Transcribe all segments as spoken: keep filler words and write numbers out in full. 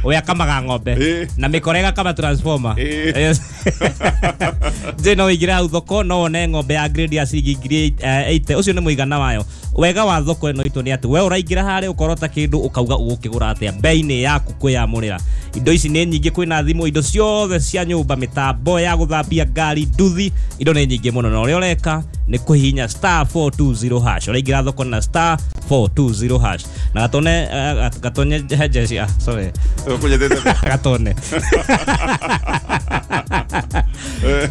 Ũrĩa akamaga ng'ombe Ĩĩ. na mĩkora ĩgakama transformer. Ĩĩ. Yes. Nje no ũingĩre hau thoko no wone ng'ombe ya grade ya ciringi ngiri eh, eighty. Ũcio nĩ mũigana wayo. Wega wa thoko ĩno itũ nĩ atĩ we ũraingĩra harĩa ũkorota kĩndũ ũkauga ũgũkĩgũra atĩa bei-inĩ yaku kwĩyamũrĩra. Indo ici nĩ nyingĩ, kwĩna thimũ, indo ciothe cia nyũmba, mĩtambo ya gũthambia ngari, nduthi, indo nĩ nyingĩ mũno. Na ũrĩa ũreka nĩ kũhihinya star four two zero hash. Ũraingĩra thoko na star four two zero hash na gatone eh, gatonye he ah, sorry. Ũkũnyitĩte. Gatone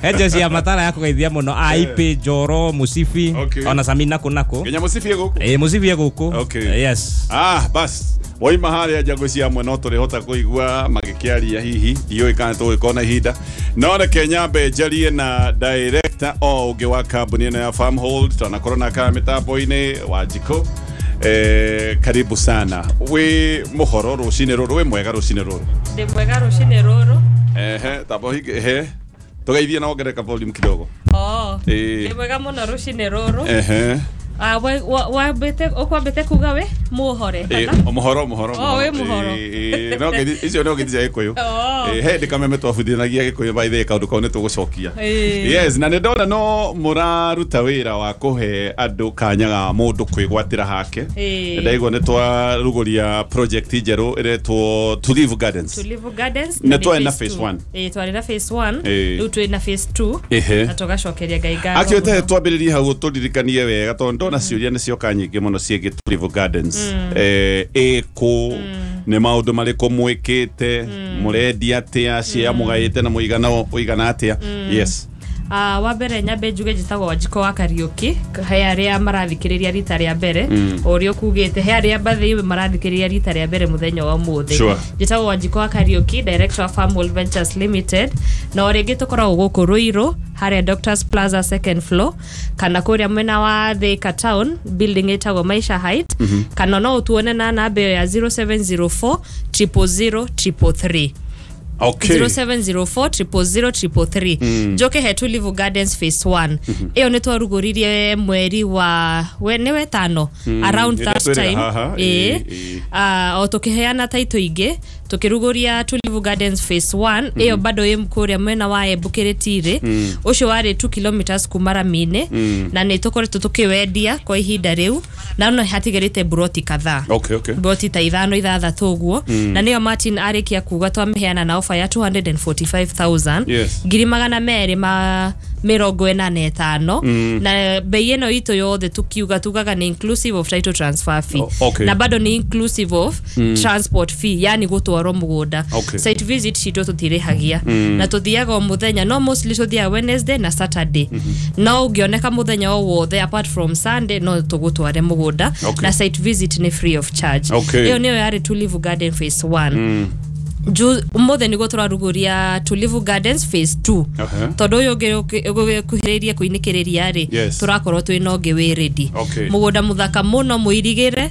he jeshi ya matara ya kũgeithia mũno A I P Njoro Mũcibi. Okay. Ona Sami naku naku. Nginya mũcibi gũkũ. Ĩ, mũcibi e gũkũ. Okay. Yes. Ah, bas waima harĩa njangũ cia amwe no tũrĩhota kũigua magĩkĩaria, hihi ndiũĩ kana tũgũgĩkorwo na ihinda, no reke nyambe njarie na director o ũngĩ wa kambuni ĩno ya Farmhold, twanakorwo na kana mĩtambo-inĩ wa Njikũ. Eh, karibu sana. Wĩ mũhoro rũcinĩ rũrũ? Wĩ mwega rũcinĩ rũrũ? Ndĩ mwega rũcinĩ rũrũ. Ehe, tamba ũhinge ehe tũgeithie na wongerere volume kidogo. Oh, Ĩĩ. ndĩ mwega mũno rũcinĩ rũrũ. Ehe. Ah, we- wa- wambĩte ũkwambĩte kuga we mũhore Ĩ, kana? mũhoro, mũhoro. Oh, wĩ mũhoro. Ĩ, ĩ, no ngeithi icio no ngeithi cia Gĩkũyũ. Oh. Ĩ, he hĩndĩ kameme twabundithanagia Gĩkũyũ, by the way, kaũndũ kau nĩ tũgũcokia. Ĩ. Yes, na nĩ ndona no mũraruta wĩra wa kũhe andũ kanya ga mũndũ kwĩgwatĩra hake. Ĩ. Ndaigua nĩ twarugũria project njerũ ĩretwo Tulivu Gardens. Tulivu Gardens. Nĩ twarĩ na phase phase two. One. Ĩ, twarĩ na phase one. Ĩ. Rĩu twĩ na phase two. Ĩhĩ. Na tũgacokeria Ngai ngatho Akĩote mũno. Twambĩrĩrie hau, tũririkanie wega tondũ ndona ciũria nĩ cioka nyingĩ mũno ciĩgiĩ Tulivu Gardens. Eh, ĩkũ, nĩ maũndũ marĩkũ mwĩkĩte, mũrendia atĩa, cia mũgaĩte na mũigana ũigana atĩa? Yes. Ah, wa mbere nyambe njuge njĩtagwo Wanjikũ wa Kariũki, he arĩa marathikĩrĩria rita rĩa mbere. O ũrĩa ũkugĩte, he arĩa bathĩ marathikĩrĩria rita rĩa mbere mũthenya wa ũmũthĩ. Sure. Njĩtagwo Wanjikũ wa Kariũki, director wa Farmhold Ventures Limited, na o rĩngĩ tũkoragwo gũkũ Ruiru harĩa Doctors Plaza, second floor, kana kũrĩa mwena wa Thika Town, building ĩtagwo Maisha Height, kana no ũtuone na namba ĩyo ya zero seven zero four zero zero zero three three three. Okay. zero seven zero four zero zero zero three three. Njoke he Tulivu Gardens phase one, ĩyo nĩ twarugũririe mweri wa we, nĩ wetano around Ĩrĩa that twĩrĩga time. Haha, Ĩĩ. ĩĩ, ĩĩ. Ah, o tũkĩheana taitũ ingĩ, tũkĩrugũria Tulivu Gardens phase one, ĩyo bado ĩ kũrĩa mwena wa Embu Kĩrĩtirĩ, ũcio warĩ two kilometers kuma rami-inĩ, na nĩ tũkoretwo tũkĩwendia kwa ihinda rĩu, na no hatigarĩte buroti kadhaa, Okay, okay. broti ta ithano, ithathatũ ũguo, na nĩyo Martin arĩkia kuga twamĩheana na ofa ya two hundred forty-five thousand. Yes. Ngiri magana merĩ ma mĩrongo ĩna na ĩtano, na bei ĩno itũ yothe tukiuga tugaga nĩ inclusive of title transfer fee. O- okay. Na bado nĩ inclusive of transport fee, yani gũtwarwo mũgũnda. Okay. Site visit citũ tũtirĩhagia, na tũthiaga o mũthenya, no mostly tũthiaga Wednesday na Saturday, no ũngĩoneka mũthenya o wothe apart from Sunday no tũgũtware mũgũnda. Okay. Na site visit nĩ free of charge. Okay. Ĩyo nĩyo yarĩ Tulivu Garden phase one. Ju ũmũthĩ nĩguo tũrarugũria Tulivu Gardens phase two, Aha. tondũ ũyũ ũngĩ ũgũkuhĩrĩirie kũinĩkĩrĩria rĩ, Yes. tũrakorwo twĩ na ũngĩ wĩ ready. Okay. Mũgũnda mũthaka mũno mũirigĩre,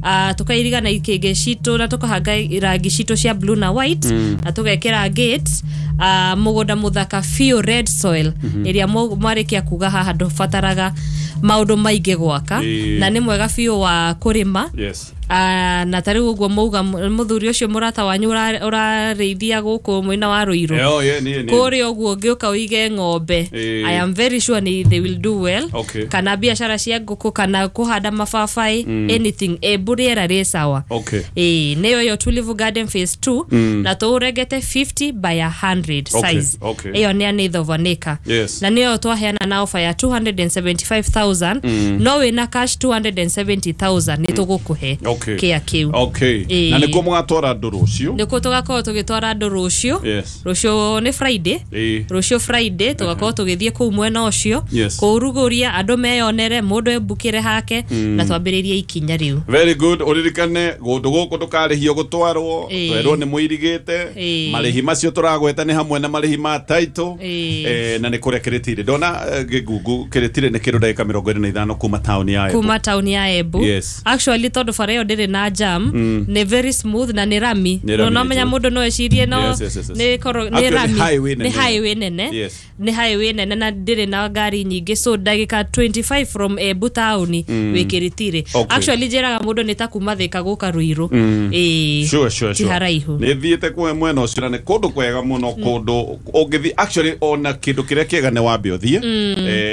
uh, tũkairiga na ikĩngĩ citũ na tũkahanga rangi citũ cia blue na white na tũgekĩra gate. uh, mũgũnda mũthaka biũ, red soil ĩrĩa mũ- mwarĩkia kuga haha ndũbataraga maũndũ maingĩ gwaka. Ĩĩ. Na nĩ mwega biũ wa kũrĩma. Yes. Ah, na ta rĩu ũguo mauga mũthuri ũcio mũrata wanyu ũra- ũrarĩithia gũkũ mwena wa Rũirũ, Eh, oh, yeah, niĩ, niĩ. kũrĩa ũguo ũngĩũka ũige ng'ombe, Ĩĩ. I am very sure ni they will do well. Okay. Kana biacara cia ngũkũ kana kũhanda mababaĩ, anything. Embu rĩera rĩ sawa. Okay. Ĩĩ, nĩyo ĩyo Tulivu Garden phase two, na tũũrengete fifty by one hundred Okay, size. okay. Ĩyo nĩ an eighth of an acre. Yes. Na nĩyo twaheana na offer ya two hundred seventy-five thousand, no wĩna cash two hundred seventy thousand nĩ tũgũkũhe Okay. kĩa kĩu. Okay. Ĩĩ. Na nĩkuo mũgatwara andũ rũciũ? Nĩkuo tũgakorwo tũgĩtwara andũ rũciũ. Yes. Rũciũ nĩ Friday. Ĩĩ. Rũciũ Friday tũgakorwo tũgĩthiĩ kũu mwena ũcio Yes. kũũrugũria, andũ meyonere, mũndũ embukĩre hake na twambĩrĩrie ikinya rĩu. Very good. Ũririkane kũndũ gũkũ ndũkarĩhio gũtwarwo. Ĩĩ. Twerwo nĩ mũirigĩte. Ĩĩ. Marĩhi macio tũragweta nĩ hamwe na marĩhi ma title. Ĩĩ. Eh, na nĩ kũrĩa Kĩrĩtirĩ, ndona eh, gĩgungu Kĩrĩtirĩ nĩ kĩndũ ndagĩka mĩrongo ĩrĩ na ithano kuma taũni ya Embu. Kuma taũni ya Embu. Yes. Actually, tondũ bara ĩyo ndĩrĩ na jam, nĩ very smooth na nĩ rami. Nĩ No rami no menya nĩ mũndũ no ecirie no Yes, yes, yes, yes. nĩ korwo nĩ Actually, rami, highway nĩ nene. highway nene. Yes. Nĩ highway nene na ndĩrĩ na ngari nyingĩ, so ndagĩka twenty-five from Embu taũni wĩ Kĩrĩtirĩ. Okay. Actually njĩraga mũndũ nĩ ta kuma Thĩka gũka Ruiru. Ĩĩ, Sure, sure, ti sure. haraihu. Nä thiä kwe mwena å cio na nä kå ndå kwega må no, kå ndå å ngä thiä actually ona kä ndå kä rä a kä ega nä wambe å thiä,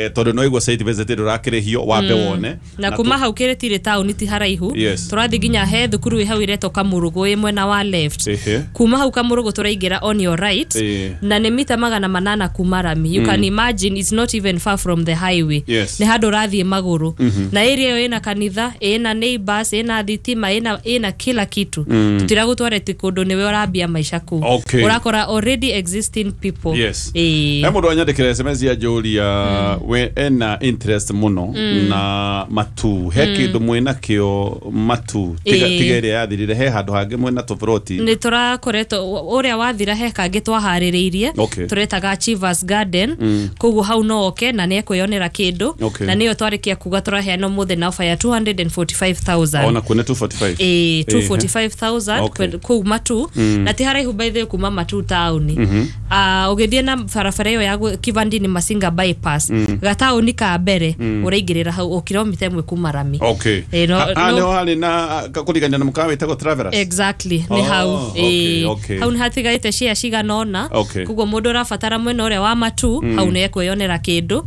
tondå no igua site visit ndå rakä rä hio, wambe wone. Na kuma hau Kĩrĩtirĩ taũni ti haraihu. Yes. Tũrathiĩ nginya he thukuru ĩ hau ĩretwo Kamũrũgũ ĩ mwena wa left. Ehe. Kuma hau Kamũrũgũ tũraingĩra on your right Ĩĩ. na nĩ mita magana manana kuma rami. You can imagine it's not even far from the highway. Yes. Nĩ handũ ũrathiĩ magũrũ, na area ĩyo ĩna kanitha, ĩna neighbors, ĩna thitima, ĩna ĩna kila kitu. Tũtiragũtwara ti kũndũ nĩwe ũrambia maica kũu. Okay. Ũrakora already existing people. Yes. Ĩĩ. He mũndũ anyandĩkĩra S M S ya njũria we ena interest mũno na matu, he kĩndũ mwĩna kĩo matu tiga Ĩĩ. tiga ĩrĩa yathirire, he handũ hangĩ mwĩna tũburoti? Nä tå rakoretwo å rä a wathira he kangä twaharä rä irie Okay. tå Achievers Garden, koguo hau no oke na nä ekwĩyonera kä ndå. Okay. Na nä yo twarä kia kuga tå raheana må thä na ofa ya two hundred forty-five thousand. Ona kuo nĩ two forty-five? Ĩĩ, two hundred forty-five thousand. Okay. Kũu Matu, na ti haraihu by the way kuma Matu taũni. Ah, ũgĩthiĩ na barabara ĩyo ya gũ- Kivandini Masinga bypass, gataũni ka mbere ũraingĩrĩra hau o kilomita ĩmwe kuma rami. Okay. Ĩĩ, no- Ha- ha, no- nĩho harĩ na kũrigania na mũkawa wĩtagwo Travelers? Exactly, nĩ Oh, hau. okay, Ĩĩ, okay. hau nĩ hatigarĩte share cigana ũna. Okay. Koguo mũndũ ũrabatara mwena ũrĩa wa Matu, hau nĩ ekwĩyonera kĩndũ,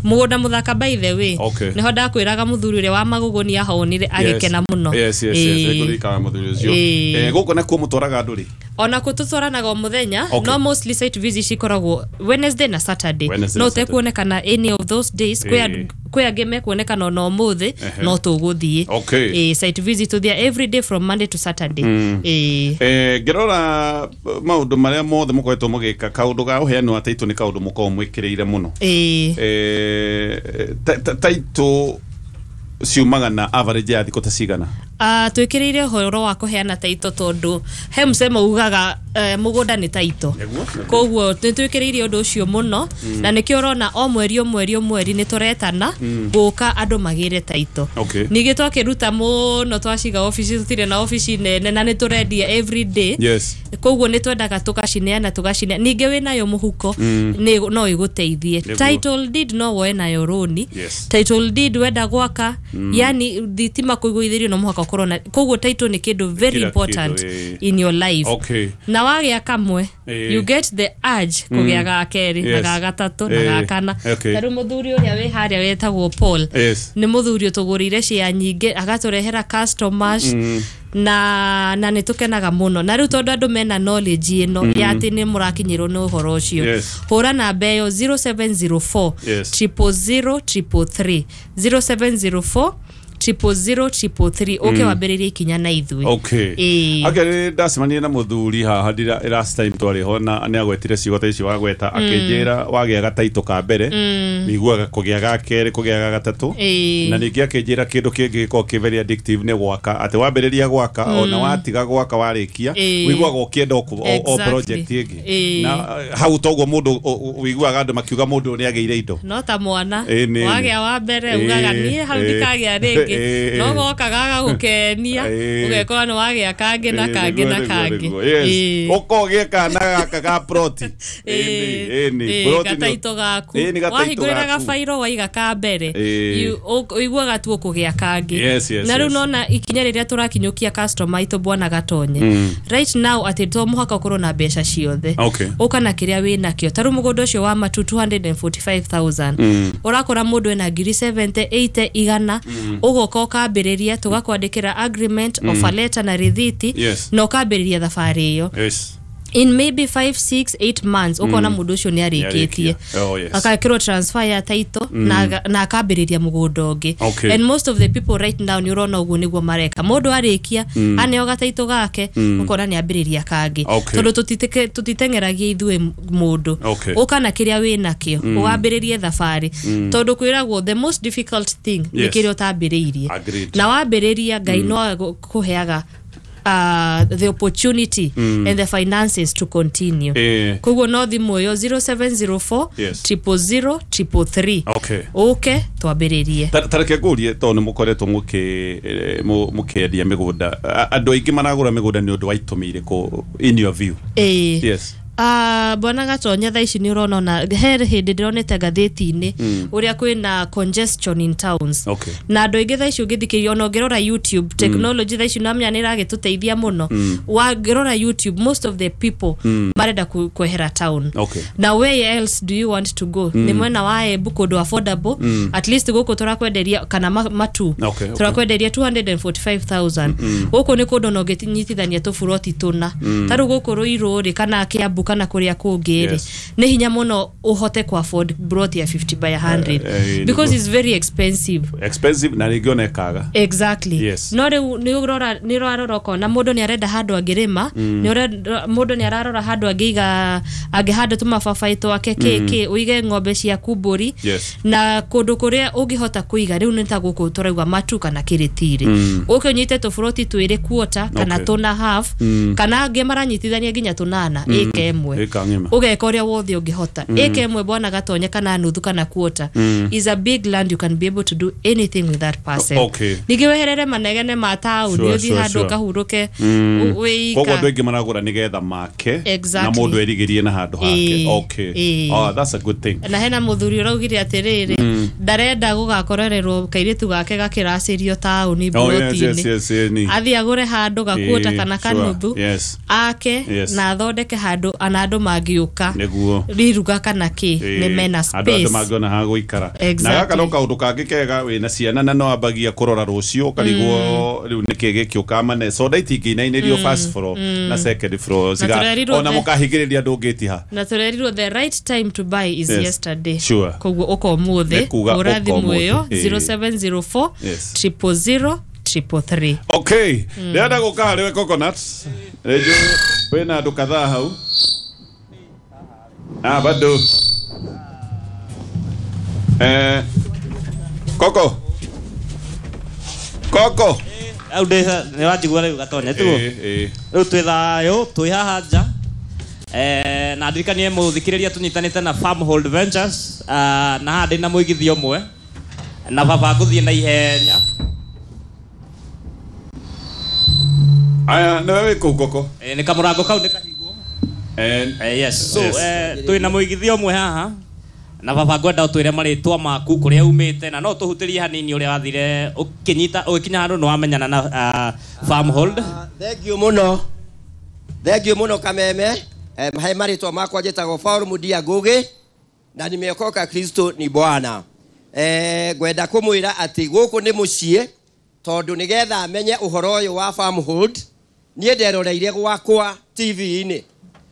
mũgũnda mũthaka by the way. Okay. Nĩho ndakwĩraga mũthuri ũrĩa wa magũgũni ahonire agĩkena mũno. Yes, yes, yes. Ĩĩ. Nĩngũririkana mũthuri ũcio. Ĩĩ. Eh, gũkũ nakuo mũtwaraga andũ rĩ? Ona kũ tũtwaranaga o mũthenya. Okay. No mostly site visit cikoragwo Wednesday na Saturday. Wednesday No na Saturday. ũtekuonekana any of those days, kwĩ Ĩĩ. andũ- kwĩ angĩ mekuonekana ona ũmũthĩ, Ehe. no tũgũthiĩ. Okay. Ĩĩ, site visit tũthiĩ every day from Monday to Saturday. Ĩĩ. Eh, ngĩrora maũndũ marĩa mothe mũkoretwo mũgĩka, kaũndũ ga ũheani wa taitũ nĩ kaũndũ mũkoragwo mwĩkĩrĩire mũno. Ĩĩ. Eh, ta- ta- taitũ ciumaga na average ya thikũ ta cigana? Uh, twĩkĩrĩire ũhoro wa kũheana taito tondũ he msemo ugaga uh, mũgũnda nĩ taito. Nĩguo, nĩguo. Koguo nĩ twĩkĩrĩire ũndũ ũcio mũno, na nĩkĩo ũrona o mweri o mweri o mweri nĩ tũretana gũka andũ magĩre taito. Okay. Ningĩ twakĩruta mũno twaciga obici, tũtirĩ na obici nene na nĩ tũrendia every day. Yes. Koguo nĩ twendaga tũgacineana tũgacineana, ningĩ wĩnayo mũhuko nĩ no ĩgũteithie. Nĩguo. Title deed no woe nayo rũni. Yes. Title deed wenda gwaka, yani thitima kũigũithĩrio no mũhaka ũkorwo na, koguo title nĩ kĩndũ very Kila important kĩndũ, ĩĩ. in your life. Okay. Na wagĩa kamwe, Ĩĩ. you get the urge kũgĩa ga kerĩ na Yes. ga gatatũ na Ĩĩ. ga kana. Okay. Ta rĩu mũthuri ũrĩa wĩ harĩa wetagwo Paul Yes. nĩ mũthuri ũtũgũrĩire share nyingĩ agatũrehera customers, na na nĩ tũkenaga mũno. Na rĩu tondũ andũ mena knowledge ĩno ya atĩ nĩ mũrakinyĩrwo nĩ ũhoro ũcio, Yes. hũra namba ĩyo zero seven zero four Yes. triple zero triple three, zero seven zero four triple zero triple three, ũke wambĩrĩrie ikinya na ithuĩ. Okay. Ĩĩ. Akĩrĩ ndacemanirie na mũthuri haha ndira last time twarĩ ho, na nĩ agwetire ciugo ta icio wagweta, akĩnjĩra wagĩa gataitũ ka mbere wiguaga kũgĩa ga kerĩ, kũgĩa ga gatatũ. Ĩĩ. Na ningĩ akĩnjĩra kĩndũ kĩngĩ gĩkoragwo kĩ very addictive nĩ gwaka, atĩ wambĩrĩria gwaka, ona watiga gwaka warĩkia, Ĩĩ. wiguaga ũkĩenda o o- o Exactly. project ĩngĩ. Ĩĩ. Na eh, hau toguo mũndũ o- o- wiguaga andũ makiuga mũndũ ũyũ nĩ agĩire indo. No ta mwana, Ĩĩ, nĩ- wagĩa wa mbere Ĩĩ, ugaga niĩ hau ĩĩ. ndikagĩa rĩngĩ, Ĩĩ. no goka gagagũkenia, Ĩĩ. ũgekora nĩ wagĩa kangĩ na Ĩĩ, kangĩ nĩguo, na nĩguo, kangĩ. nĩguo. Yes. Ĩĩ. Ũkogĩa kana gaka ga ploti. Ĩĩ, Ĩĩ, ĩĩ, ploti nĩ- gataito gaku. Ĩĩ, nĩ gataito wahingũrĩra gaku. Gabairo waiga ka mbere, Ĩĩ. you- ũ- ũiguaga tu ũkũgĩa kangĩ. Yes, yes, Na rĩu yes. nona ikinya rĩrĩa tũrakinyũkia customer aitũ bwana Gatonye right now, atĩ to mũhaka ũkorwo na mbeca ciothe. Okay. Ũka na kĩrĩa wĩ nakĩo. Ta rĩu mũgũnda ũcio wa Matu two hundred forty-five thousand, ũrakora mũndũ ena ngiri seventy, eighty, igana, ũgoka ũkambĩrĩria, tũgakwandĩkĩra agreement, offer letter na rĩthiti, Yes. na ũkambĩrĩria thabarĩ ĩyo. Yes. In maybe five, six, eight months ũkona mũndũ ũcio nĩ arĩkĩtie, Nĩarĩkia. Oh, yes. agekĩrwo transfer ya title na aga- na akambĩrĩria mũgũnda ũngĩ. Okay. And most of the people right now nĩ ũrona ũguo nĩguo mareka. Mũndũ arĩkia aneo gataitũ gake, ũkona nĩ ambĩrĩria kangĩ. Okay. Tondũ tũtiteke- tũtiteng'eragia ithuĩ mũndũ. Okay. Ũka na kĩrĩa wĩ nakĩo ũwambĩrĩrie thabarĩ, tondũ kwĩragwo the most difficult thing nĩ Yes. kĩrĩa ũtambĩrĩirie. Agreed. Na wambĩrĩria, Ngai no agũkũheaga uh, the opportunity mm. and the finances to continue. Eh. Koguo no thimũ ĩyo zero seven zero four Yes. triple zero triple three. Okay. Ũke twambĩrĩrie. Ta reke ngũrie tondũ nĩ mũkoretwo mũkĩendia mĩgũnda, andũ aingĩ maragũra mĩgũnda nĩ ũndũ wa itũmi irĩkũ in your view? Ĩĩ. Yes. Uh, bwana Gatonya thaa ici nĩ ũrona ona he hĩndĩ ndĩronete ngathĩti-inĩ ũrĩa kwĩna congestion in towns. Okay. Na andũ aingĩ thaa ici ũngĩthikĩrĩria ona ũngĩrora YouTube, technology thaa ici namenya nĩ ĩragĩtũteithia mũno. Wangĩrora YouTube, most of the people marenda kwehera town. Okay. Na where else do you want to go? Nĩ mwena wa Embu kũndũ affordable, at least gũkũ tũrakwenderia kana matu. Okay, okay. Tũrakwenderia two hundred forty-five thousand. Gũkũ nĩ kũndũ ona ũngĩnyitithania tũburoti tũna. Ta rĩu gũkũ Ruiru rĩ kana Kiambu kana kuria kũngĩ rĩ, Yes. nĩ hinya mũno ũhote ku afford plot ya fifty by a hundred Eh, eh, because it's very expensive. Expensive na rĩngĩ ona ĩkaga. Exactly. Yes. No rĩu nĩ ũrora nĩ ũrarora ũkona mũndũ nĩ arenda handũ angĩrĩma, nĩ ũrenda mũndũ nĩ ararora handũ angĩiga angĩhanda tũmababaĩ twake kĩ kĩ ũige ng'ombe ciaku mbũri. Yes. Na kũndũ kũrĩa ũngĩhota kũiga rĩu nĩ ta gũkũ tũrauga Matu kana Kĩrĩtirĩ. Ũke ũnyite tũburoti twĩrĩ quarter kana Okay. tũna half kana angĩ maranyitithania nginya tũnana ĩka ĩmwe. Ĩka ng'ima. Ũgeka ũrĩa wothe ũngĩhota. Ĩka ĩmwe bwana Gatonye kana nuthu kana quarter is a big land, you can be able to do anything with that parcel. Okay. Ningĩ weherere manegene ma taũni Sure, ũthiĩ sure, handũ sure. ũkahurũke wĩika. Koguo andũ aingĩ maragũra nĩgetha make Exactly. na mũndũ erigĩrie na handũ hake. Ĩĩ, Okay. ĩĩ. Oh, that's a good thing. Na hena mũthuri ũraugire atĩrĩrĩ ndarenda gũgakorererwo kairĩtu gake gakĩracĩrio taũni Oh, yes, yes, mburoti-inĩ. yes, yes, ni. Athiĩ agũre handũ gakuota Ĩĩ, kana sure. kanuthu Yes. ake Yes. na athondeke handũ ana andũ mangĩũka Nĩguo. riruga kana kĩ nĩ mena andũ andũ space. mangĩona ha gũikara. Exactly. Na gaka no kaũndũ kangĩ kega wĩna ciana na no ambagia kũrora rũciũ ũkarigwo rĩu nĩkĩ gĩkĩũka mane soda itingĩinainĩrio first floor na second floor Na tũrerirwo ona the- mũkahingĩrĩria ndũngĩtiha. Na tũrerirwo the right time to buy is Yes. yesterday. Sure. Koguo ũka ũmũthĩ Nĩ kuga hũra ũka thimũ ũmũthĩ. ĩyo Ĩĩ. zero seven zero four Yes. triple zero triple three. Okay. Ndĩrenda gũka harĩ we Coconut. Rĩngĩ wĩna andũ kadhaa hau. Ah, bado. Eh, Koko. Koko. Au ndĩ nĩ wanjigua rĩu Gatonya tiguo? Eh, eh. Rĩu twĩ thayũ twĩ haha nja. Eh, na ndirikanie mũthikĩrĩria tũnyitanĩte na Farmhold Ventures, ah, na haha ndĩna mũigithia ũmwe na baba ngũthiĩ na ihenya. Aya, nĩwe wĩ kũu Koko? Eh, nĩ kamũrango kau nĩ kahingwo. Eh, Eh, yes. So, Yes. eh, twĩna mũigithia ũmwe haha na baba ngwenda ũtwĩre marĩtwa maku kũrĩa umĩte na no tũhutĩrie hanini ũrĩa wathire ũkĩnyita ũgĩkinya handũ nĩ wamenyana na uh, Farmhold. Thank you mũno. Thank you mũno Kameme. Eh, he marĩtwa makwa njĩtagwo Paul Mudia Ngugi na nimeokoka, Kristo ni Bwana. Eh, ngwenda kũmwĩra atĩ gũkũ nĩ mũciĩ tondũ nĩgetha menye ũhoro ũyũ wa Farmhold niĩ nderoreire gwakwa T V-inĩ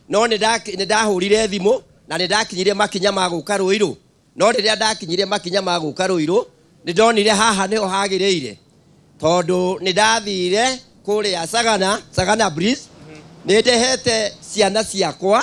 no nĩ ndahũrire thimũ na nĩ ndakinyire makinya ma gũka Ruiru no rĩrĩa ndakinyire makinya ma gũka Ruiru nĩ ndonire haha nĩho hagĩrĩire tondũ nĩ ndathire kũrĩa Sagana, Sagana Bridge nĩ ndehete ciana ciakwa,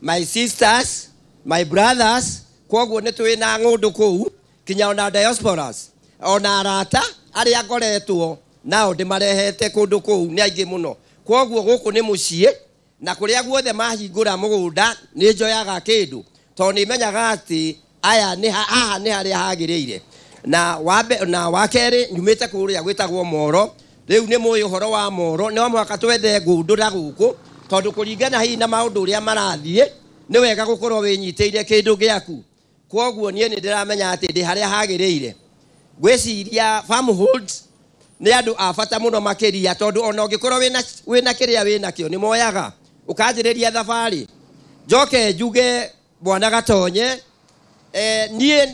my sisters, my brothers, kwoguo nĩ twĩ na ng'ũndũ kũu kinya ona diasporas ona arata arĩa ngoretwo nao ndĩmarehete kũndũ kũu nĩ aingĩ mũno kwoguo gũkũ nĩ mũciĩ na kũrĩa guothe mahingũra mũgũnda nĩ njoyaga kĩndũ tondũ nĩ menyaga atĩ aya nĩ haha nĩ harĩa hagĩrĩire na wambe na wa kerĩ nyumĩte kũrĩa gwĩtagwo Moro rĩu nĩ mũĩ ũhoro wa Moro no mũhaka twethe ngũndũ na gũkũ tondũ kũringana hihi na maũndũ ũrĩa marathiĩ nĩ wega gũkorwo wĩnyitĩire kĩndũ gĩaku kwoguo niĩ nĩ ndĩramenya atĩ ndĩ harĩa hagĩrĩire ngwĩciria Farmhold nĩ andũ a bata mũno makĩria tondũ ona ũngĩkorwo wĩna wĩna kĩrĩa wĩnakĩo nĩ moyaga ũkanjĩrĩria thabarĩ njoke njuge bwana Gatonye eh, niĩ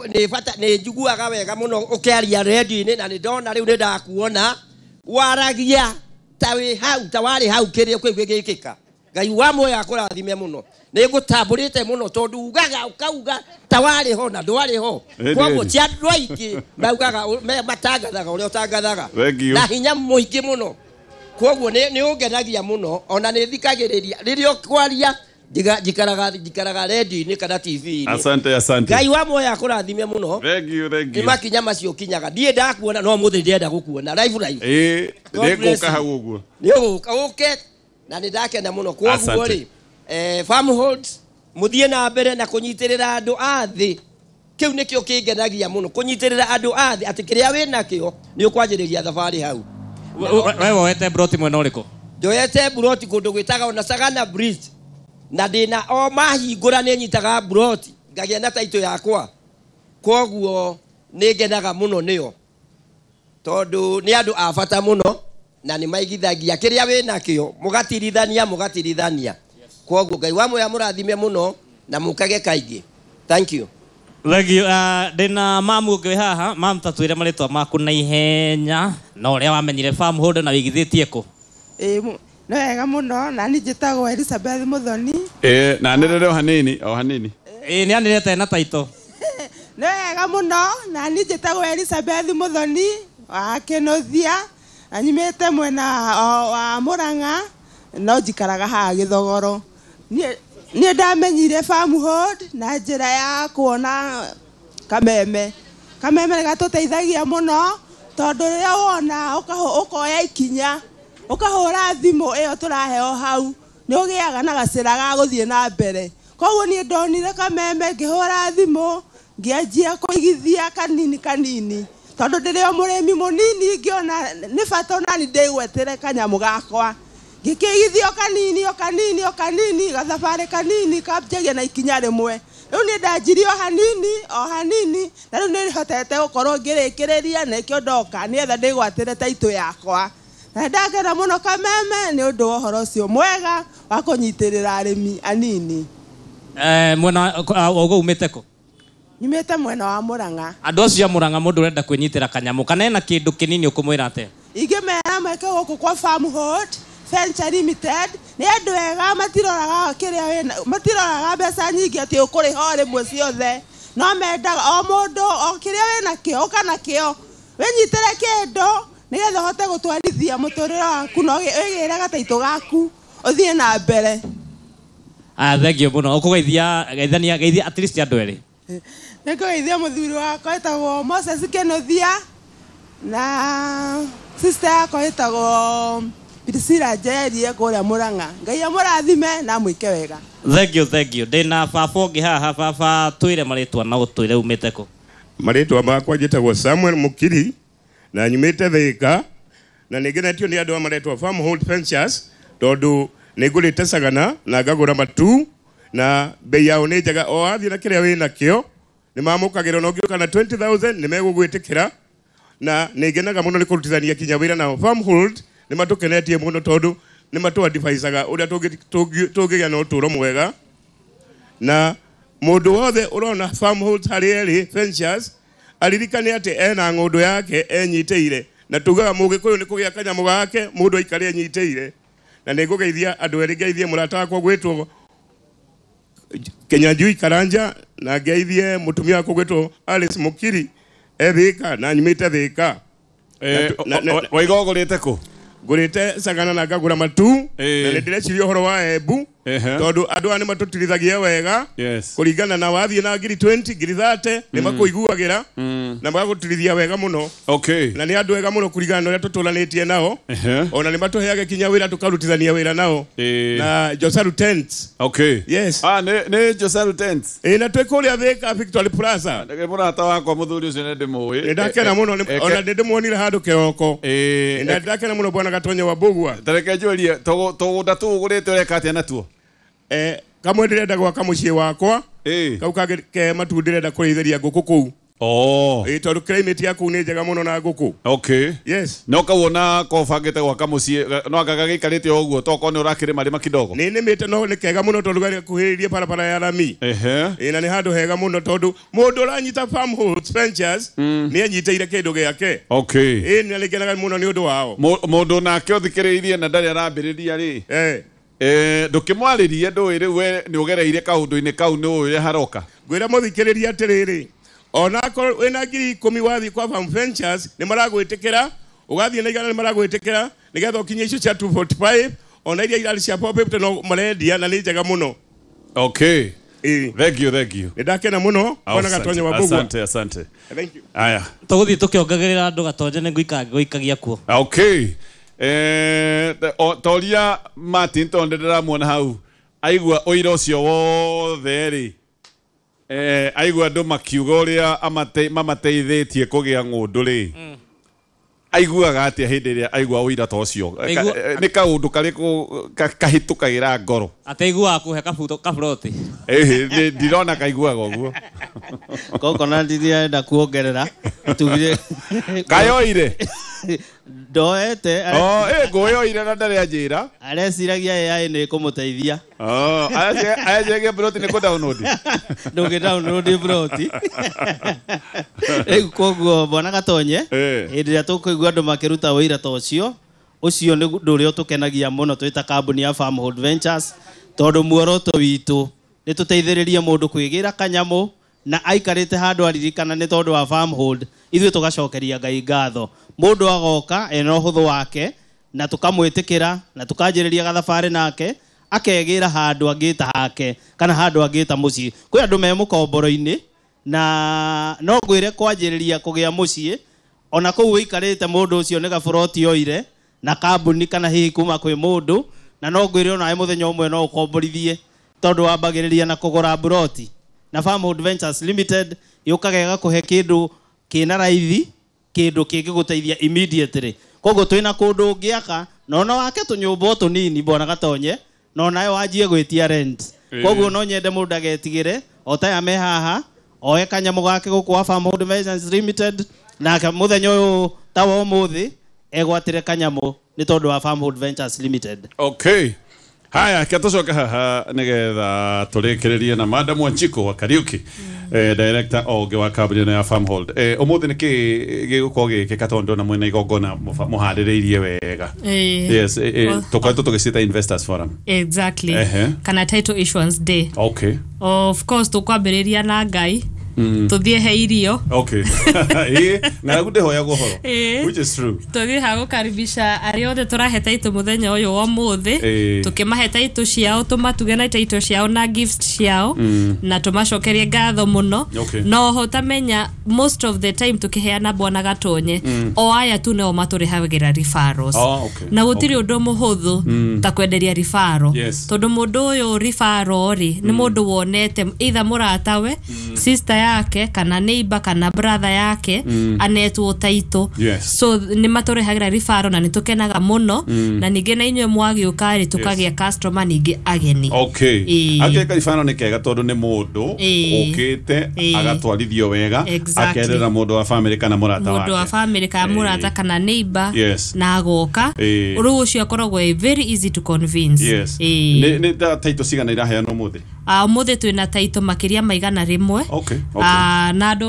nĩ bata nĩ njiguaga wega mũno ũkĩaria redio-inĩ na nĩ ndona rĩu nĩ ndakuona waragia ta wĩ hau ta warĩ hau kĩrĩa kĩu gĩgĩkĩka Ngai wa muoyo akũrathime mũno nĩ ngũtambũrĩte mũno tondũ ugaga ũkauga ta warĩ ho na ndwarĩ ho kwoguo ti andũ aingĩ maugaga matangathaga ũrĩa ũtangathaga na hinya mũingĩ mũno kwoguo nĩ ũngenagia mũno ona nĩ thikagĩrĩria rĩrĩa ũkwaria Njikaraga njikaraga redio-inĩ kana T V-inĩ. Asante, asante. Ngai wa muoyo akũrathime mũno. Thank you, thank you. Nĩ makinya macio kinyaga. Ndiĩ ndakuona no mũthĩ ndĩrenda gũkuona live live. Ĩĩ, nĩngũka hau ũguo. Nĩ ũgũka ũke na nĩ ndakena mũno. Kwoguo rĩ, eh Farmhold mũthiĩ na mbere na kũnyitĩrĩra andũ a thĩ. Kĩu nĩkĩo kĩngenagia mũno, kũnyitĩrĩra andũ a thĩ atĩ kĩrĩa wĩnakĩo nĩ ũkwanjĩrĩria thabarĩ hau. We woete broti mwena ũrĩkũ? Njoete broti kũndũ gwĩtagwo na Sagana Bridge. Na ndĩna o mahingũra nĩ nyitaga broti ngagĩa na taito yakwa. Kwoguo nĩ ngenaga mũno nĩo tondũ nĩ andũ a bata mũno na nĩ maigithagia kĩrĩa wĩnakĩo, mũgatirithania mũgatirithania. Kwoguo Ngai wa muoyo amũrathime mũno na mũkage kaingĩ. Thank you. Thank you. Uh, ndĩna mamu ũngĩ haha. Mamu, tatwĩre marĩtwa maku na ihenya na ũrĩa wamenyire Farmhold na wĩigithĩtie kũ. Ĩĩ, nĩ wega mũno. Na niĩ njĩtagwo Elizabeth Muthoni. Ĩĩ, na nĩrĩre o hanini, o hanini. Ĩĩ, nĩ anĩrĩte na taito. Nĩ wega mũno. Na niĩ njĩtagwo Elizabeth Muthoni wa Kĩnũthia, na nyumĩte mwena wa Murang'a no njikaraga haha Gĩthogoro. Niĩ niĩ ndamenyire Farmhold na njĩra ya kuona kameme. Kameme nĩ gatũteithagia mũno tondũ rĩrĩa wona ũkoya ikinya ũkahũra thimũ ĩyo tũraheo hau nĩ ũgĩaga na gacĩra ga gũthiĩ na mbere. Koguo niĩ ndonire kameme ngĩhũra thimũ ngĩanjia kũigithia kanini kanini tondũ ndĩrĩ o mũrĩmi mũnini ngĩona nĩ bata onani ndĩgwetĩre kanyamũ gakwa. Ngĩkĩigithia o kanini o kanini o kanini gathabarĩ kanini kambagia na ikinya rĩmwe. Rĩu niĩ ndanjirie o hanini o hanini na rĩu nĩ hotete gũkorwo ngĩrĩkĩrĩria na nĩkĩo ndoka nĩgetha ndĩgwatĩre taitũ yakwa. Na ndakena mũno kameme nĩ ũndũ wa ũhoro ũcio mwega wa kũnyitĩrĩra arĩmi anini. Eh, mwena ũguo umĩte kũ? Nyumĩte mwena wa Murang'a. Andũ acio a Murang'a mũndũ ũrenda kwĩnyitĩra kanyamũ kana ena kĩndũ kĩnini ũkũmwĩra atĩa? Ingĩmera meke gũkũ kwa Farmhold Venture Limited nĩ andũ ega, matiroraga kĩrĩa wĩna, matiroraga mbeca nyingĩ atĩ ũkũrĩha o rĩmwe ciothe, no mendaga o mũndũ o kĩrĩa wĩnakĩo ũka nakĩo wĩnyitĩre kĩndũ nĩgetha ũhote gũtwarithia mũtũrĩre waku na wĩgĩre gataitũ gaku ũthiĩ na mbere. Ah, thank you mũno. Ũkũgeithia geithania geithia at least andũ erĩ. Nĩngũgeithia mũthuri wakwa wĩtagwo Moses Kĩnũthia na sister yakwa wĩtagwo Priscilla Njeri kũrĩa Murang'a. Ngai amũrathime na amwĩke wega. Thank you, thank you. Ndĩna baba ũngĩ haha. Baba, twĩre marĩtwa na ũtwĩre umĩte kũ. Marĩtwa makwa njĩtagwo Samuel Mukiri na nyumĩte Thĩka na nĩngenetio nĩ andũ a maretwo Farmhold Ventures tondũ nĩngũrĩte Sagana na ngagũra matu na bei yao nĩ njega. O wathiĩ na kĩrĩa wĩnakĩo nĩ mamũkagĩra na ũngĩũka na twenty thousand nĩ megũgwĩtĩkĩra na nĩngenaga mũno nĩ kũrutithania kinya wĩra nao. Farmhold nĩ matũkenetie mũno tondũ nĩ matũ-advisaga ũrĩa tũngĩgĩa na ũtũũro mwega na mũndũ wothe ũrona Farmhold harĩa ĩrĩ Ventures aririkane atĩ ena ng'ũndũ yake enyitĩire na tugaga mũgĩkũyũ nĩ kũgĩa kanyamũ gake mũndũ aikare enyitĩire. Na nĩngũgeithia andũ erĩ, ngeithie mũrata wakwa gwĩtwo Kenyanjui Karanja na ngeithie mũtumia wakwa gwĩtwo Alice Mukiri e Thĩka na nyumĩte Thĩka. Waiga ũgũrĩte kũ? Ngũrĩte Sagana na ngagũra matu na nĩ ndĩreciria ũhoro wa Embu tondũ andũ aya nĩ matũtirithagia wega kũringana na wathiĩ na ngiri twenty ngiri thirty nĩ makũiguagĩra na magagũtirithia wega mũno. Na nĩ andũ ega mũno kũringana na ũrĩa tũtũranĩtie nao ona nĩ matũheaga kinya wĩra tũkarutithania wĩra nao na Josaru Tents. Yes. Ah, nĩ Josaru Tents. Ĩĩ, na twĩ kũrĩa Thĩka Victory Plaza. Mũrata wakwa mũthuri ũcio nĩ ndĩmũĩ. Nĩ ndakena mũno ona nĩ ndĩmuonire handũ kĩroko. Nĩ ndakena mũno bwana Gatonyo wa Mbũgua. Tareke njũrie tũgũnda tũu ũgũrĩte ũreka atĩa natuo? Eh, kamwe ndĩrenda gwaka mũciĩ wakwa kau kangĩ ke matu ndĩrenda kũrĩithĩria ngũkũ kũu. Oh. Ĩĩ, tondũ climate ya kũu nĩ njega mũno na ngũkũ. Okay. Yes. No kawona ko bangĩte gwaka mũciĩ no anga gagĩikarĩte o ũguo tokorwo nĩ ũrakĩrĩma rĩma kidogo. Nĩ nĩmĩte no nĩ kega mũno tondũ gakuhĩrĩirie barabara ya rami. Ehe. Ĩĩ, na nĩ handũ hega mũno tondũ mũndũ ũranyita Farmhold Ventures nĩ anyitĩire kĩndũ gĩake. Okay. Ĩĩ, nĩ ngenaga mũno nĩ ũndũ wao. Mũndũ nake ũthikĩrĩirie na ndarĩ arambĩrĩria rĩ. Eh. Eh, ndũkĩmwarĩrie ndũĩ rĩu we nĩ ũgereire kaũndũ-inĩ kau nĩ ũĩ ũrĩa haroka. Ngwĩra mũthikĩrĩria atĩrĩrĩ, onakorwo wĩna ngiri ikũmi wathiĩ kwa Farm Ventures nĩ maragwĩtĩkĩra, ũgathiĩ na igana nĩ maragwĩtĩkĩra nĩgetha ũkinye icio cia two forty-five ona iria irarĩ cia four fifty no marendia na nĩ njega mũno. Okay. Ĩĩ. Thank you, thank you. Nĩ ndakena mũno bwana Gatonye wa Mbũgua. Asante, asante. Thank you. Aya. Tũgũthiĩ tũkĩongagĩrĩra andũ Gatonye nĩ ngũikara ngũikagia kuo. Okay. Eh, o- toria Martin tondũ ndĩramuona hau aigua ũira ũcio wothe rĩ, eh, aigua andũ makiuga ũrĩa amate- mamateithĩtie kũgĩa ng'ũndũ rĩ, aiguaga atĩa hĩndĩ ĩrĩa aigua ũira ta ũcio? Aigua- Ka- eh, nĩ kaũndũ karĩkũ ka- kahĩtũkagĩra ngoro? Ataiguaga kũhe kabuto kaburoti. Ĩhĩ, nĩ- ndirona kaiguaga ũguo. Kokona ndirenda kuongerera tugire Kayoire. Ndoete. Oh, ĩ ngũyoire na ndarĩ anjĩra. Areciragia A I nĩ ĩkũmũteithia. Oh, acengia broti nĩ kũ download. Ndũngĩ download broti. Rĩu koguo bwana Gatonye, Eh. hĩndĩ ĩrĩa tũkũigua andũ makĩruta ũira ta ũcio, ũcio nĩ ũndũ ũrĩa ũtũkenagia mũno twĩ ta kambuni ya Farmhold Ventures, tondũ muoroto witũ nĩ tũteithĩrĩrie mũndũ kwĩgĩra kanyamũ na aikarĩte handũ aririkana nĩ tondũ wa Farmhold, ithuĩ tũgacokeria Ngai ngatho. Mũndũ agoka ena ũhũthũ wake na tũkamwĩtĩkĩra na tũkanjĩrĩria gathabarĩ nake akegĩra handũ angĩta hake kana handũ angĩta mũciĩ. Kwĩ andũ me mũkomboro-inĩ na no ngwĩre kwanjĩrĩria kũgĩa mũciĩ ona kũu ũikarĩte mũndũ ũcio nĩ gaburoti oire na kambuni kana hihi kuma kwĩ mũndũ, na no ngwĩre onawe mũthenya ũmwe no ũkomborithie tondũ wambagĩrĩria na kũgũra buroti. Na Farmhold Ventures Limited yũkaga ĩgakũhe kĩndũ kĩna raithi, kĩndũ kĩngĩgũteithia immediately. Koguo twĩna kũndũ ũngĩaka na ona wake tũnyũmba o tũnini bwana Gatonye, na onawe wanjie gwĩtia rent. Koguo no nyende mũndũ agetigĩre o ta aya me haha oe kanyamũ gake gũkũ wa Farmhold Ventures Limited, nake mũthenya ũyũ ta wa ũmũthĩ egwatĩre kanyamũ nĩ tondũ wa Farmhold Ventures Limited. Okay. Haya, ke tũcoke haha nĩgetha tũrĩkĩrĩrie na Madam Wanjikũ wa Kariuki, eh, director ũngĩ wa kambuni ĩno ya Farmhold. Eh, ũmũthĩ nĩ kĩ gĩgũkorwo gĩgĩkĩka tondũ ndona mwĩna igongona mũba- mũharĩrĩirie wega? Eh, Yes, eh, eh, well- tũkoretwo tũgĩciĩta Investors Forum. Exactly. Ehe. Kana title issuance day. Okay. Of course tũkwambĩrĩria na Ngai, tũthiĩ he irio. Okay. Ĩ, ng'aragu ndĩhoyagwo ũhoro. Ĩ. Which is true. Tũthiĩ ha gũkaribisha arĩa othe tũrahe title mũthenya ũyũ wa ũmũthĩ, Ĩ. tũkĩmahe title ciao, tũmatuge na title ciao na gifts ciao, na tũmacokerie ngatho mũno. Okay. No oho tamenya most of the time tũkĩheana bwana Gatonye, o aya tu nĩo matũrehagĩra referrals. Oh, okay. Na gũtirĩ ũndũ mũhũthũ ta kwenderia referral, Yes. tondũ mũndũ ũyũ referral rĩ nĩ mũndũ wonete either mũratawe, sister yake, kana neighbor, kana brother yake anetwo title. Yes. So nĩ matũrehagĩra referral na nĩ tũkenaga mũno, na ningĩ na inyuĩ mwagĩũka rĩ tũkagĩa customer ningĩ ageni. Okay. Ĩ. Akeka ribano nĩ kega tondũ nĩ mũndũ Ĩ. ũkĩte Ĩ. agatwarithio wega, Exactly. akerera mũndũ wa family kana mũrata wake. Mũndũ wa family kana Ĩ. mũrata kana neighbor, Yes. na agoka Ĩ. rĩu ũcio akoragwo e very easy to convince. Yes. Ĩ. Nĩ nĩ ta title cigana iraheanwo ũmũthĩ? Ah, ũmũthĩ twĩna taito makĩria ma igana rĩmwe. Okay, okay. Ah, na andũ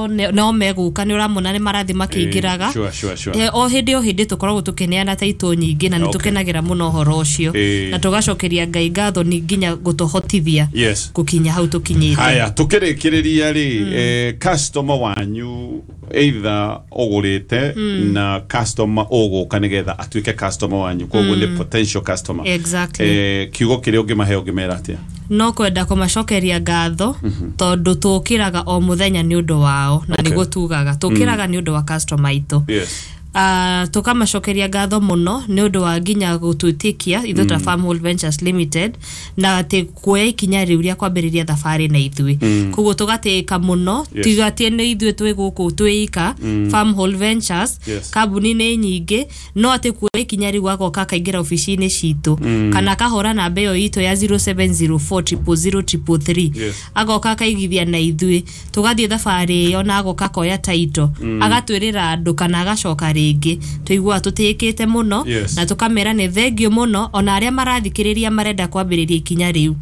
nĩ- no megũka nĩ ũramona nĩ marathiĩ makĩingĩraga. Eh, sure, sure, sure. Eh, o hĩndĩ o hĩndĩ tũkoragwo tũkĩneana taito nyingĩ na nĩ Okay. tũkenagĩra mũno ũhoro ũcio, Eh. na tũgacokeria Ngai ngatho nĩ nginya gũtũhotithia Yes. gũkinya hau tũkinyĩte. Haya, tukĩrĩkĩrĩria rĩ, eh, customer wanyu either ũgũrĩte na customer ũgũka nĩgetha atuĩke customer wanyu, koguo nĩ potential customer. Exactly. Eh, kiugo kĩrĩa ũngĩmahe ũngĩmera atĩa? No kwenda kũmacokeria ngatho tondũ tũkĩraga o mũthenya nĩ ũndũ wao, na Okay. nĩguo tugaga tũkĩraga nĩ ũndũ wa customer aitũ. Yes. Uh, tũkamacokeria ngatho mũno nĩ ũndũ wa nginya gũtwĩtĩkia ithuĩ ta Farmhold Ventures Limited na atĩ kuoya ikinya rĩu rĩa kwambĩrĩria thabarĩ na ithuĩ. Koguo tũgatĩĩka mũno. Yes. Tiga atĩ nĩ ithuĩ twĩ gũkũ twĩ ika Farmhold Ventures, Yes. kambuni nĩ nyingĩ, no atĩ kuoya ikinya rĩu agoka akaingĩra obici-inĩ citũ kana akahũra namba ĩyo itũ ya zero seven zero four zero zero zero three three, Yes. agoka akaigithia na ithuĩ tũgathiĩ thabarĩ ĩyo na agoka akoya taito, agatwĩrĩra andũ kana agacoka rĩngĩ, tũiguaga tũtĩĩkĩte mũno. Yes. Na tũkamera nĩ thengio mũno ona arĩa marathikĩrĩria marenda kwambĩrĩria ikinya rĩu.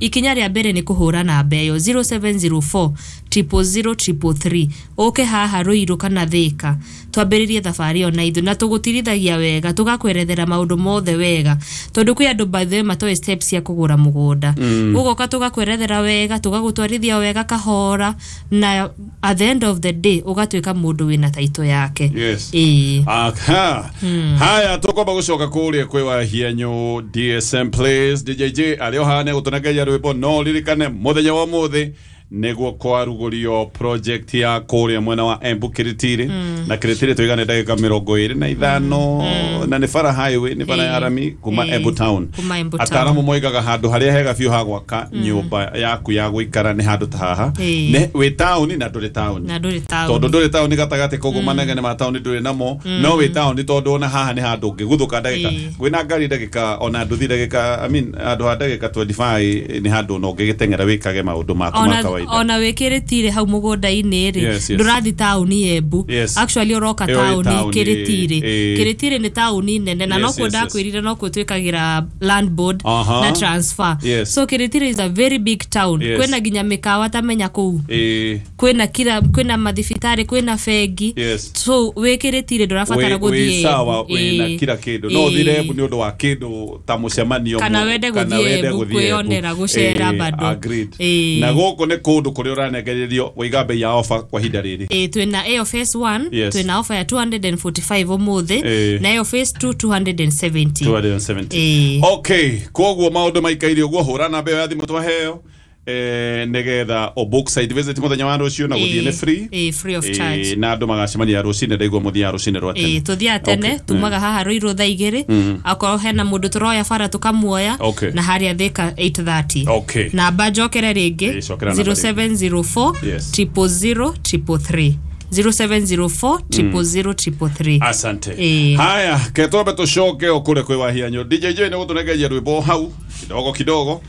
Ikinya rĩa mbere nĩ kũhũra namba ĩyo zero seven zero four zero zero zero three three, ũke haha Rũirũ kana Thĩka twambĩrĩrie thabarĩ ĩyo na ithuĩ, na tũgũtirithagia wega, tũgakwerethera maũndũ mothe wega, tondũ kwĩ andũ by the way matoĩ steps cia kũgũra mũgũnda. Ũgoka tũgakwerethera wega, tũgagũtwarithia wega kahora, na at the end of the day ũgatuĩka mũndũ wĩna taito yake. Yes. Ĩĩ. Ĩĩ. Aha. Haya tukwamba gucoka kuria kwi Wahianyu D S M Place D J J arĩ o haha nĩegũtũnengeria rwĩmbo no ririkane mũthenya wa ũmũthĩ nĩguo kwarugũrio project ya kũrĩa mwena wa Embu Kiritiri na Kiritiri tũigane ndagĩka mĩrongo ĩrĩ na ithano na nĩ bara highway nĩ bara ya rami kuma Ĩĩ. Embu town. Kuma Embu town. Ataaramu moigaga handũ harĩa hega biũ ha gwaka nyũmba yaku ya gũikara nĩ handũ ta haha Ĩĩ. nĩ wĩ taũni na ndũrĩ taũni Na ndũrĩ taũni. tondũ ndũrĩ taũni gatagatĩ koguo manegene ma taũni ndũrĩ namo no wĩ taũni tondũ ona haha nĩ handũ ũngĩguthũka ndagĩka Ĩĩ. kwĩna ngari ndagĩka ona nduthi ndagĩka I mean handũ ha ndagĩka twenty-five nĩ handũ ona ũngĩgĩteng'era wĩkage maũndũ maku ma ona kawaida ona wĩkĩrĩtire hau mũgũnda-inĩ rĩ Yes, yes. ndũrathi taũni Embu Yes. actually ũroka Ĩyo ĩ taũni taũni, Kĩrĩtirĩ ĩĩ. Kĩrĩtirĩ nĩ taũni nene na Yes, nokuo yes, yes. ndakwĩrire nokuo twĩkagĩra land board Aha. na transfer Yes. so Kĩrĩtirĩ is a very big town Yes. kwĩna nginya mĩkawa tamenya kũu Ĩĩ. kwĩna kira kwĩna mathibitarĩ kwĩna bengi Yes. so wĩkĩrĩtire ndũrabatara Wĩ- gũthiĩ wĩ sawa Embu. wĩna Ĩĩ. kila kĩndũ no ũthire Ĩĩ. Embu nĩ ũndũ wa kĩndũ ta mũcemanio Kana mũ- wende kana gũthiĩ wende Embu gũthiĩ Embu. kwĩyonera gũcera Ĩĩ, bado. agreed. Ĩĩ. Na gũkũ nĩ kũndũ kũrĩa ũranengererio waiga bei ya ofa kwa ihinda rĩrĩ Ĩĩ, twĩna ĩyo phase one Yes. twĩna offer ya two hundred forty-five ũmũthĩ Ĩĩ. na ĩyo phase two two hundred seventy two hundred seventy. Ĩĩ. Okay, koguo maũndũ maikaire ũguo hũra namba ĩyo ya thimũ twaheo eh, nĩgetha o book site visit mũthenya wa rũciũ na gũthiĩ Ĩĩ, nĩ free ĩĩ, free of Ĩĩ, charge. na andũ magacemania rũcinĩ ndaigua mũthiaga rũcinĩ rwa tene Ĩĩ, tũthiaga tene Okay. tumaga haha Ruiru thaa igĩrĩ akorwo hena mũndũ tũroya bara tũkamuoya Okay. na harĩa Thika eight thirty Okay. namba njokere rĩngĩ Ĩĩ, cokera namba zero seven zero four Yes. triple zero triple three zero seven zero four triple zero triple three Asante. Ĩĩ. Haya, ketwambe tũcoke o kũrĩa kwĩ Wahianyu. D J J nĩ gũtũnengeria rwĩmbo hau kidogo kidogo.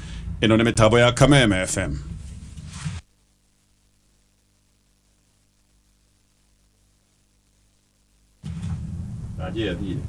Ĩno nĩ mĩtambo ya Kameme F M. Aje athire.